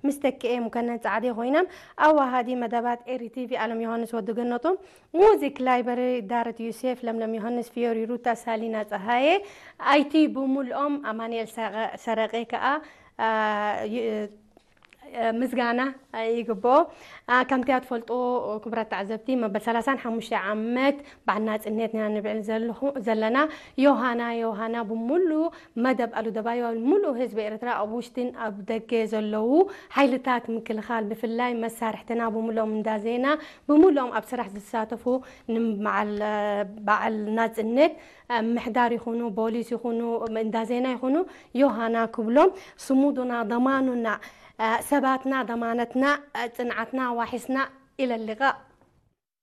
ምስ ተክኤ ሙከነን ጻዕዴ ኮይኖም ኣዋሃዲ መደባት ኤሪ ቲቪ ኣለም ዮሃንስ ወዲ ገነቶም፣ ሙዚክ ላይብረሪ ዳረት ዩሴፍ፣ ለምለም ዮሃንስ፣ ፊዮሪ ሩታ፣ ሳሊና ጸሃየ፣ ኣይቲ ብምልኦም ኣማኑኤል ሰረቐ ከኣ ምስጋና ይግብኦ። ከምቲ ትፈልጡ ክቡራት ተዓዘብቲ፣ መበል ሰላሳን ሓሙሽተ ዓመት በዓል ናጽነት ኢና ንብዕል ዘለና። ዮሃና ዮሃና ብምሉ መደብ ኣሉደባዮ፣ ሙሉእ ህዝቢ ኤርትራ ኣብ ውሽጥን ኣብ ደገ ዘለዉ ሓይልታት ምክልኻል፣ ብፍላይ መሳርሕትና ብምሉኦም እንዳ ዜና፣ ብምሉኦም ኣብ ስራሕ ዝሳተፉ፣ ንበዓል በዓል ናጽነት ምሕዳር ይኹኑ፣ ፖሊስ ይኹኑ፣ እንዳ ዜና ይኹኑ፣ ዮሃና ክብሎም፣ ስሙዱና፣ ደማኑና፣ ሰባትና፣ ደማነትና፣ ጽንዓትና፣ ዋሒስና ኢለ ልቓእ